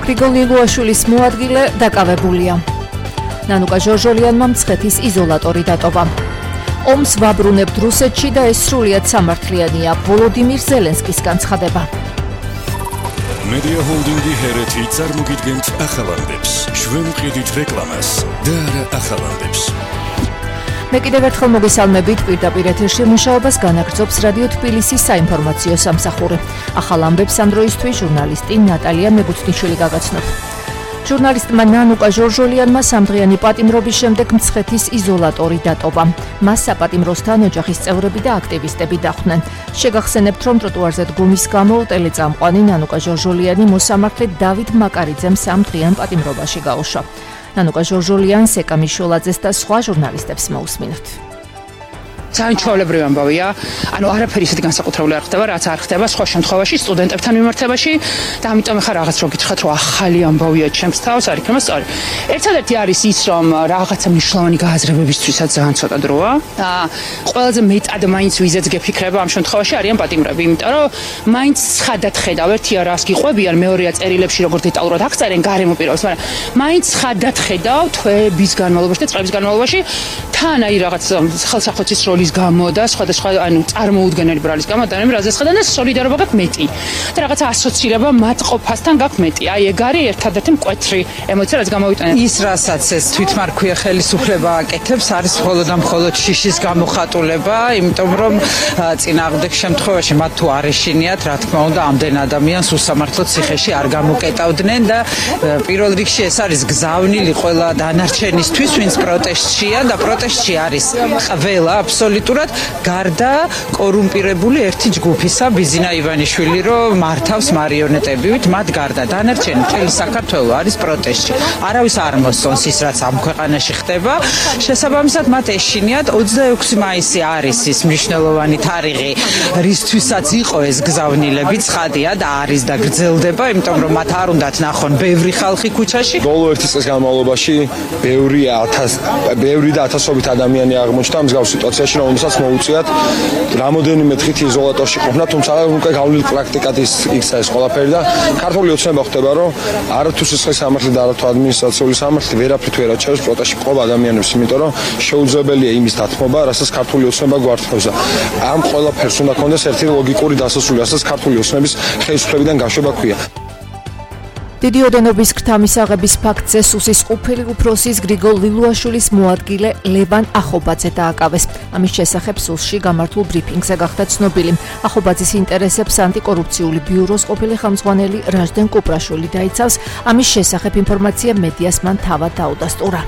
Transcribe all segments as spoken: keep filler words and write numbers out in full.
გრიგოლ ლილუაშვილის მოადგილე დაკავებულია. ნანუკა ჟორჟოლიანმა მცხეთის იზოლატორი დატოვა. ომს ვაბრუნებთ რუსეთში და ეს სრულიად სამართლიანია. ვოლოდიმირ ზელენსკის განცხადება. Media Holdingi ჰერეთი წარმოგიდგენთ ახალამდებს. ჩვენ ვყიდით რეკლამას და არა ახალამდებს. მე კიდევ ერთხელ მოგესალმებით, პირდაპირ ეთერში მუშაობას განაგრძობს რადიო თბილისის საინფორმაციო სამსახური. ახალ ამბებს ამ დროისთვის ჟურნალისტი ნატალია მეგუთნიშვილი გაგაცნობ. ჟურნალისტმა ნანუკა ჟორჟოლიანმა სამდღიანი პატიმრობის შემდეგ მცხეთის იზოლატორი დატოვა. მას საპატიმროსთან ოჯახის წევრები და აქტივისტები დახვდნენ. შეგახსენებთ, რომ ტროტუარზე დგომის გამო ტელეწამყვანი ნანუკა ჟორჟოლიანი მოსამართლე დავით მაკარიძემ სამდღიან პატიმრობაში გაუშვა. ნანუკა ჟორჟოლიანს, ეკა მიშოლაძეს და სხვა ჟურნალისტებს მოусმინოთ. ძალიან ჩვეულებრივი ამბავია, ანუ არაფერი ისეთი განსაკუთრებული არ ხდება, რაც არ ხდება სხვა შემთხვევაში სტუდენტებთან მიმართებაში და ამიტომ ახლა რაღაც რო გითხრათ, რომ ახალი ამბავია ჩემს თავს, არ იქნება სწორი. ერთადერთი არის ის, რომ რაღაცა მნიშვნელოვანი გააზრებებისთვისაც ძალიან ცოტა დროა და ყველაზე მეტად მაინც ვიზეც გეფიქრება ამ შემთხვევაში არიან პატიმრები, იმიტომ რომ მაინც ცხადად ხედავ, ერთია რას გიყვებიან, მეორეა წერილებში როგორ დეტალურად აღწერენ გარემო პირობებს, მაგრამ მაინც ცხადად ხედავ თვეების განმავლობაში და წლების განმავლობაში თან აი რაღაც ხელსახვეცის როლის გამო და სხვადასხვა ანუ წარმოუდგენელი ბრალის გამო და რაზეც ხედავ და სოლიდარობა გაქვს მეტი და რაღაცა ასოცირება მათყოფასთან გაქვს მეტი. აი ეგ არის ერთადერთი მკვეთრი ემოცია, რაც გამოვიტანე. ის რასაც ეს თვითმარქვია ხელისუფლება აკეთებს, არის მხოლოდ და მხოლოდ შიშის გამოხატულება, იმიტომ რომ წინააღმდეგ შემთხვევაში მათ თუ არ ეშინიათ, რა თქმა უნდა, ამდენ ადამიანს უსამართლო ციხეში არ გამოკეტავდნენ და პირველ რიგში ეს არის გზავნილი ყველა დანარჩენისთვის, ვინც პროტესტშია და პროტესტში არის ყველა აბსოლუტურად გარდა კორუმპირებული ერთი ჯგუფისა, ბიზინა ივანიშვილი, რომ მართავს მარიონეტებივით, მათ გარდა დანარჩენი მთელი საქართველო არის პროტესტში. არავის არ მოსწონს ის, რაც ამ ქვეყანაში ხდება. შესაბამისად, მათ ეშინიათ ოცდაექვსი მაისი არის ის მნიშვნელოვანი თარიღი, რისთვისაც იყო ეს გზავნილები, ცხადია და არის და გრძელდება, იმიტომ რომ მათ არ უნდათ ნახონ ბევრი ხალხი ქუჩაში. ბოლო ერთი წლის განმავლობაში ბევრი ათას ბევრი და ათასობით ადამიანი აღმოჩნდა მსგავს სიტუაციაში, რომელსაც მოუწიათ რამოდენიმე დღით იზოლატორში ყოფნა, თუმცა უკვე გავლილი პრაქტიკად ის იქცა ეს ყველაფერი და ქართული ოცნება ხდება, რომ არათუ სისხლის სამართლი და არათუ ადმინისტრაციული სამართლი ვერაფრით ვერ აჩერებს პროტესტში მყოფ ადამიანებს, იმიტომ რომ შეუძლებელია იმის დათმობა, რასაც ქართული ოცნება გვართმევს. ამ ყველაფერს უნდა კონდეს ერთი ლოგიკური დასასრული, რასაც ქართული ოცნების ხელისუფლებიდან გაშვება ქვია. დიდი ოდენობის გრთამისაღების ფაქტზე სუსის ყოფილი უფროსის გრიგოლ ლილუაშვილის მოადგილე ლევან ახობაძე დააკავეს. ამის შესახებ სუსში გამართულ ბრიფინგზე გახდა ცნობილი. ახობაძის ინტერესებს ანტიკორუფციული ბიუროს ყოფილი ხელმძღვანელი რაჟდენ კუპრაშვილი დაიცავს. ამის შესახებ ინფორმაცია მედიას მან თავად დაუდასტურა.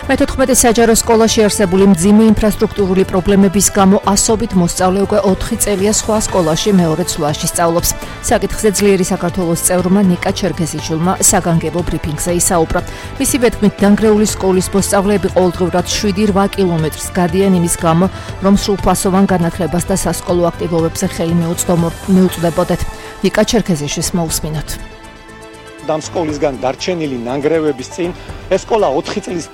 მეთოთხმეტე საჯარო სკოლაში არსებული მძიმე ინფრასტრუქტურული პრობლემების გამო ასობით მოსწავლე უკვე ოთხი წელია სხვა სკოლაში მეორე ცვლაში სწავლობს. საკითხზე ძლიერი საქართველოს წევრმა ნიკა ჩერქეზიჩულმა საგანგებო ბრიფინგზე ისაუბრა. მისი ვეთქმით, დანგრეული სკოლის მოსწავლეები ყოველდღიურად შვიდი რვა კილომეტრს გადიან იმის გამო, რომ სრულფასოვან განათლებას და სასკოლო აქტივობებზე ხელი მიუწვდებოდეთ. ნიკა ჩერქეზიშვილს მოусმინოთ. ამ სკოლისგან დარჩენილი ნანგრევების წინ ეს სკოლა ოთხი წლის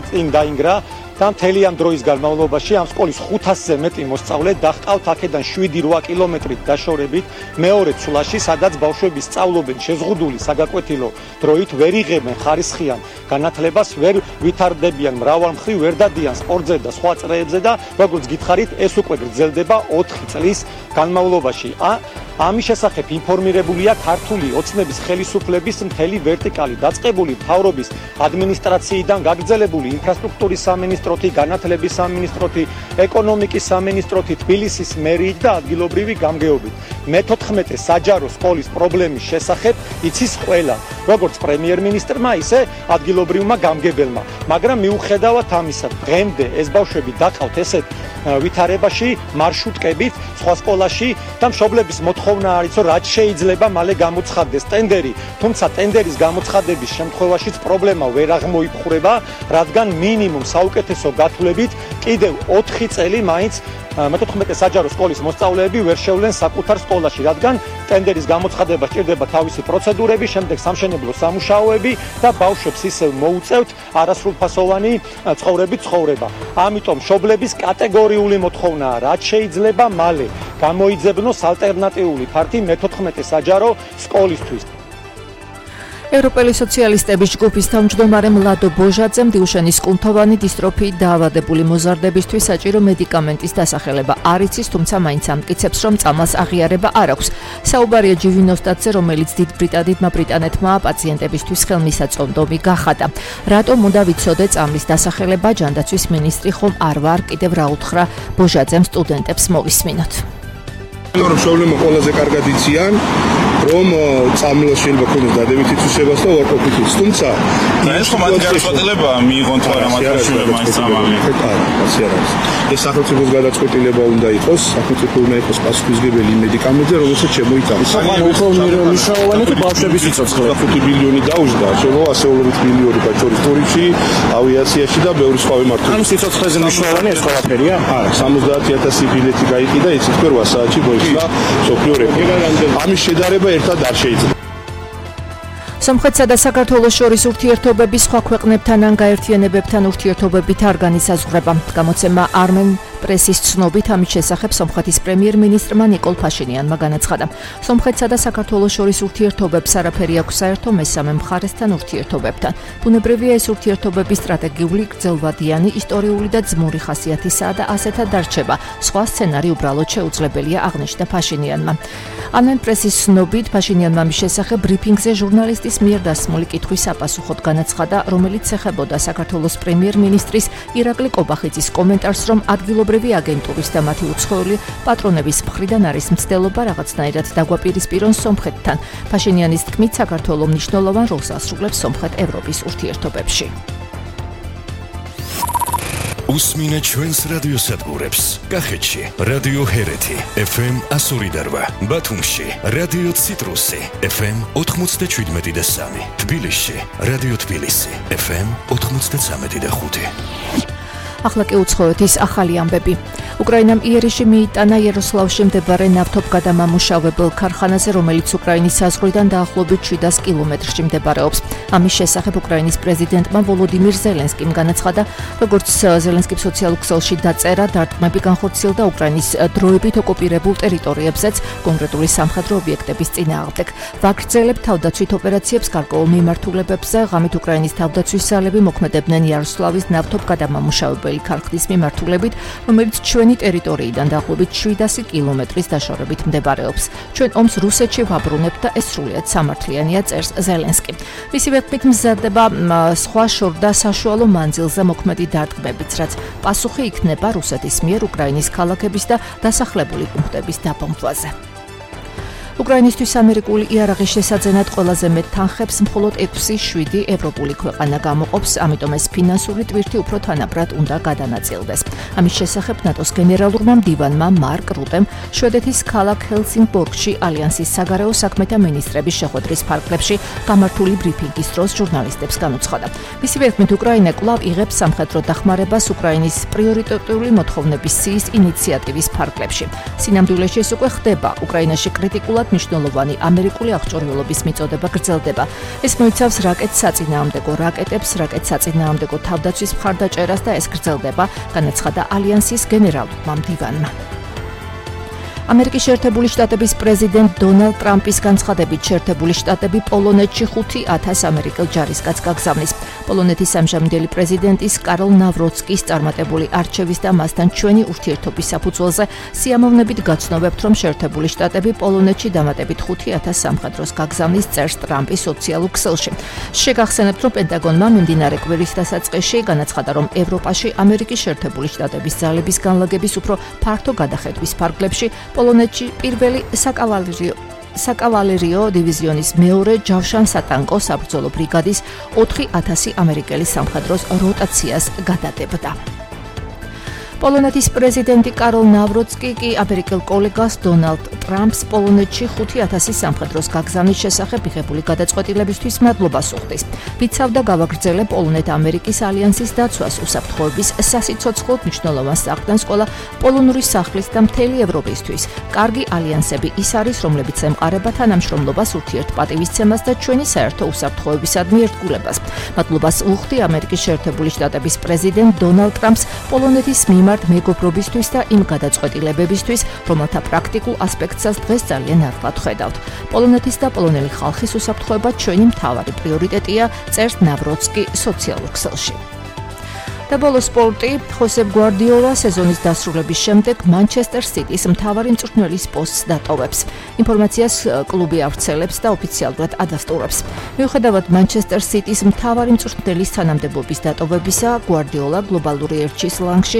წინ დაინგრა და მთელი ამ დროის განმავლობაში ამ სკოლის ხუთასზე მეტი მოსწავლე დაჰყავთ აქედან შვიდი რვა კილომეტრით დაშორებით მეორე ცვლაში, სადაც ბავშვები სწავლობენ შეზღუდული საგაკვეთილო დროით, ვერ იღებენ ხარისხიან განათლებას, ვერ ვითარდებიან მრავალმხრივ, ვერ დადიან სპორტზე და სხვა წრეებზე და როგორც გითხარით, ეს უკვე გრძელდება ოთხი წლის განმავლობაში. ამის შესახებ ინფორმირებულია ქართული ოცნების ხელისუფლების მთელი ვერტიკალი, დაწყებული მთავრობის ადმინისტრაციიდან, გაგრძელებული ინფრასტრუქტურის სამინისტროთი, განათლების სამინისტროთი, ეკონომიკის სამინისტროთი, თბილისის მერიით და ადგილობრივი გამგეობით. მეთოთხმეტე საჯარო სკოლის პრობლემის შესახებ იცის ყველა, როგორც პრემიერ-მინისტრმა, ისე ადგილობრივმა გამგებელმა. მაგრამ მიუხედავად ამისა, დღემდე ეს ბავშვები დაყავთ ესეთ ვითარებაში, მარშრუტკებით, სხვა სკოლაში და მშობლების მოთხოვნა არის, რომ რაც შეიძლება მალე გამოცხადდეს ტენდერი, თუმცა ტენდერის გამოცხადების შემთხვევაშიც პრობლემა ვერ აღმოიფხვრება, რადგან მინიმუმ საუკეთესო გათვლებით კიდევ ოთხი წელი მაინც მეთოთხმეტე საჯარო სკოლის მოსწავლეები ვერ შევლენ საკუთარ სკოლაში, რადგან ტენდერის გამოცხადება სჭირდება თავისი პროცედურები, შემდეგ სამშენებლო სამუშაოები და ბავშვებს ისევ მოუწევთ არასრულფასოვანი ცხოვრების ცხოვრება. ამიტომ მშობლების კატეგორიული მოთხოვნაა, რაც შეიძლება მალე გამოიძებნოს ალტერნატიული ფართი მეთოთხმეტე საჯარო სკოლისთვის. ევროპელი სოციალისტების ჯგუფის თავმჯდომარე მლადო ბოჟაძემ დილშენის კუნთოვანი დისტროფიით დაავადებული მოზარდებისთვის საჭირო მედიკამენტის დასახელება არ იცის, თუმცა მაინც ამტკიცებს, რომ წამალს აღიარება არ აქვს. საუბარია ჯივინოსტატზე, რომელიც დიდ ბრიტანეთმა ბრიტანეთმა პაციენტებისთვის ხელმისაწვდომი გახადა. რატომ უნდა ვიცოდე წამლის დასახელება, ჯანდაცვის მინისტრი ხომ არ ვარ, კიდევ რა უთხრა ბოჟაძემ სტუდენტებს მოვისმინოთ. რომ პრობლემა ყველაზე კარგად იციან, რომ წამლას შეიძლება ქონდეს დადებითი თვისებას და უარყოფითიც. თუმცა ეს ხომ მათი გადაწყვეტილებაა მიიღონ თუ არა მათ შეშუება მაინც წამალი. ასე არის. ეს სახელმწიფოს გადაწყვეტილება უნდა იყოს, სახელმწიფო უნდა იყოს პასუხისმგებელი მედიკამენტზე, რომელსაც შემოიტანა. მნიშვნელოვანი თუ ბავშვების სიცოცხლე. ხუთი ბილიონი დაუждდა, შემო ასეულობით მილიონი ბაჭორის ტურიზმში, ავიაციაში და ბევრი სხვა მიმართულებით. ანუ სიცოცხლეზე მნიშვნელოვანი ეს ყველაფერია? არა, სამოცდაათი ათასი ბილეთი გაიყიდა, იცით თქვენ რვა საათში მოიხდა სოფლიო რეკორდი. ამის შედარება ერთად არ შეიძლება. სომხეთსა და საქართველოს შორის ურთიერთობები სხვა ქვეყნებთან ან გაერთიანებებთან ურთიერთობებით არ განისაზღვრება. გამოცემა Armen პრესის ცნობით ამის შესახებ სომხეთის პრემიერ-მინისტრმა ნიკოლ ფაშინიანმა განაცხადა. სომხეთსა და საქართველოს შორის ურთიერთობებს არაფერი აქვს საერთო მესამე მხარესთან ურთიერთობებთან. ბუნებრივია ეს ურთიერთობები სტრატეგიული, გრძელვადიანი, ისტორიული და ძმური ხასიათისაა და ასეთად დარჩება. სხვა სცენარი უბრალოდ შეუძლებელია, აღნიშნა ფაშინიანმა. Armen პრესის ცნობით ფაშინიანმა მის შესახებ ბრიფინგზე ჟურნალისტის მიერ დასმული კითხვის საპასუხოდ განაცხადა, რომელიც ეხებოდა საქართველოს პრემიერ-მინისტრის ირაკლი კობახიძის კომენტარს, რომ ადგილობრივი აგენტურის და მათი უცხოელი პატრონების მხრიდან არის მცდელობა რაღაცნაირად დაგვაპირისპირონ სომხეთთან. ფაშინიანის თქმით, საქართველო მნიშვნელოვან როლს ასრულებს სომხეთ-ევროპის ურთიერთობებში. უსმინე ჩვენს რადიოსადგურებს. კახეთში რადიო ჰერეთი ეფ ემ εκατო ორი და რვა, ბათუმში რადიო ციტრუსი ეფ ემ ოთხმოცდაშვიდმეტი და სამი, თბილისში რადიო თბილისი ეფ ემ ოთხმოცდაცამეტი და ხუთი. ახლა კი უცხოეთის ახალი ამბები. უკრაინამ იერიში მიიტანა იეროსლავში მდებარე ნავთობგადამამუშავებელ ქარხანაზე, რომელიც უკრაინის საზღვრიდან დაახლოებით შვიდას კილომეტრში მდებარეობს. ამის შესახებ უკრაინის პრეზიდენტმა ვოლოდიმირ ზელენსკიმ განაცხადა, როგორც ზელენსკიმ სოციალურ ქსელში დაწერა, დარტყმები განხორციელდა უკრაინის დროებით ოკუპირებულ ტერიტორიებზეც, კონკრეტული სამხედრო ობიექტების წინააღმდეგ. ვაგრძელებთ თავდაცვით ოპერაციებს გარკვეულ მიმართულებებზე, ღამით უკრაინის თავდაცვის ძალები მოქმედებდნენ იეროსლავის ნავთობგადამამუშავებელ ქარხნის მიმართულებით, რომელიც ჩვენი ტერიტორიიდან დაახლოებით შვიდასი კილომეტრის დაშორებით მდებარეობს. ჩვენ ომს რუსეთში ვაბრუნებთ და ეს სრულიად სამართლიანია, წერს ზელენსკი. მისივე თქმით მზადდება სხვა შორდა საშუალო მანძილზე მოქმედი დარტყმებიც, რაც პასუხი იქნება რუსეთის მიერ უკრაინის ქალაქების და დასახლებული პუნქტების დაბომბვაზე. უკრაინისთვის ამერიკული იარაღის შესაძენად ყველაზე მეტ თანხებს მხოლოდ ექვსი შვიდი ევროპული ქვეყანა გამოყოფს, ამიტომ ეს ფინანსური ტვირთი უფრო თანაბრად უნდა გადანაწილდეს. ამის შესახებ ნატოს გენერალურმა მდივანმა მარკ რუტემ შვედეთის ქალაქ ჰელსინგბორგში ალიანსის საგარეო საქმეთა მინისტრების შეხვედრის ფარგლებში გამართული ბრიფინგის დროს ჟურნალისტებს განუცხადა. მისივე თქმით, უკრაინა კვლავ იღებს სამხედრო დახმარებას უკრაინის პრიორიტეტული მოთხოვნების სიის ინიციატივის ფარგლებში. სინამდვილეში ეს უკვე ხდება. უკრაინაში კრიტიკულად მნიშვნელოვანი ამერიკული აღჭურვილობის მიწოდება გრძელდება. ეს მოიცავს რაკეტ საწინააღმდეგო რაკეტებს, რაკეტ საწინააღმდეგო თავდაცვის მხარდაჭერას და ეს გრძელდება, განაცხადა ალიანსის გენერალურმა მდივანმა. ამერიკის შეერთებული შტატების პრეზიდენტ დონალდ ტრამპის განცხადებით, შეერთებული შტატები პოლონეთში ხუთი ათას ამერიკელ ჯარისკაცს გაგზავნის. პოლონეთის ამჟამინდელი პრეზიდენტის კარლ ნავროცკის წარმატებული არჩევის და მასთან ჩვენი ურთიერთობის საფუძველზე სიამოვნებით გაცნობებთ, რომ შეერთებული შტატები პოლონეთში დამატებით ხუთი ათას სამხედროს გაგზავნის, წერს ტრამპი სოციალურ ქსელში. შეგახსენებთ, რომ პენტაგონმა მიმდინარე კვირის დასაწყისში განაცხადა, რომ ევროპაში ამერიკის შეერთებული შტატების ძალების განლაგების უფრო ფართო გადახედვის ფარგლებში პოლონეთში პირველი საკავალერიო საკავალერიო დივიზიონის მეორე ჯავშან სატანკო საბრძოლო ბრიგადის ოთხი ათასი ამერიკელი სამხედროს როტაციას გადადებდა. პოლონეთის პრეზიდენტი კარლ ნავროცკი კი ამერიკელ კოლეგას დონალდ ტრამპს პოლონეთში ხუთი ათასი სამხედროს გაგზავნის შესახებ მიღებული გადაწყვეტილებისთვის მადლობას უხდის. ვიცავდა გავაგრძელებ პოლონეთ-ამერიკის ალიანსის დაცვას, უსაფრთხოების სასიცოცხლოდ მნიშვნელოვან საყრდენს ყველა პოლონური სახლის და მთელი ევროპისთვის. კარგი ალიანსები ის არის, რომლებიც ემყარება თანამშრომლობას, ურთიერთპატივისცემას და ჩვენი საერთო უსაფრთხოებისადმი ერთგულებას. მადლობას უხდი ამერიკის შეერთებული შტატების პრეზიდენტ დონალდ ტრამპს პოლონეთის მიმართ მიმართ მეგობრობისთვის და იმ გადაწყვეტილებებისთვის, რომელთა პრაქტიკულ ასპექტსაც დღეს ძალიან ახლად ხედავთ. პოლონეთის და პოლონელი ხალხის უსაფრთხოება ჩვენი მთავარი პრიორიტეტია, წერს ნავროცკი სოციალურ ქსელში. და ბოლოს სპორტი, ხოსე გვარდიოლა სეზონის დასრულების შემდეგ მანჩესტერ სიტის მთავარი მწვრთნელის პოსტს დატოვებს. ინფორმაციას კლუბი ავრცელებს და ოფიციალურად ადასტურებს. მიუხედავად მანჩესტერ სიტის მთავარი მწვრთნელის თანამდებობის დატოვებისა, გვარდიოლა გლობალური ერჩის ლანგში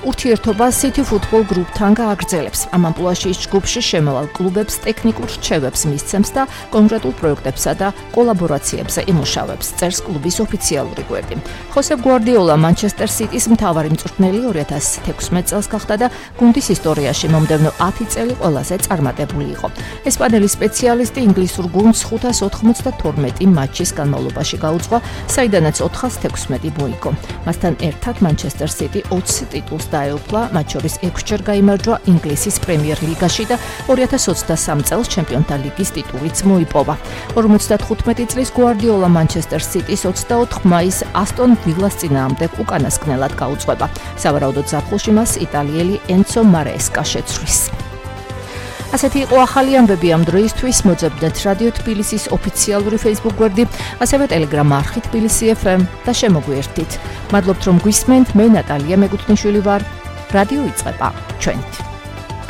ურთიერთობა City Football Group-თან გააგრძელებს. ამ ამპლუაში ის ჯგუფში შემავალ კლუბებს ტექნიკურ რჩევებს მისცემს და კონკრეტულ პროექტებსა და კოლაბორაციებზე იმუშავებს, წერს კლუბის ოფიციალური გვერდი. ხოსე გვარდიოლა მანჩესტერ სიტის მთავარი მწვრთნელი ორი ათას თექვსმეტ წელს გახდა და გუნდის ისტორიაში მომდევნო ათი წელი ყველაზე წარმატებული იყო. ესპანელი სპეციალისტი ინგლისურ გუნდს ხუთას ოთხმოცდათორმეტი მატჩის განმავლობაში გაუძღვა, საიდანაც ოთხას თექვსმეტი მოიგო. მასთან ერთად მანჩესტერ სიტი ოცი ტიტულს დაეუფლა, მათ შორის ექვსჯერ გაიმარჯვა ინგლისის პრემიერ ლიგაში და ორი ათას ოცდასამი წელს ჩემპიონთა ლიგის ტიტულიც მოიპოვა. ორმოცდათხუთმეტი წლის გვარდიოლა მანჩესტერ სიტის ოცდაოთხ მაისს ასტონ ვილას წინააღმდეგ უკანასკნელად გაუძღვება. სავარაუდოდ ზაფხულში მას იტალიელი ენცო მარესკა შეცვლის. ასეთი იყო ახალი ამბები ამ დროისთვის. მოძებნეთ რადიო თბილისის ოფიციალური Facebook გვერდი, ასევე Telegram არხი თბილისი ეფ ემ და შემოგვიერთდით. მადლობთ რომ გვისმენთ. მე ნატალია მეგუთნიშვილი ვარ. რადიო იწყება. ჩვენით.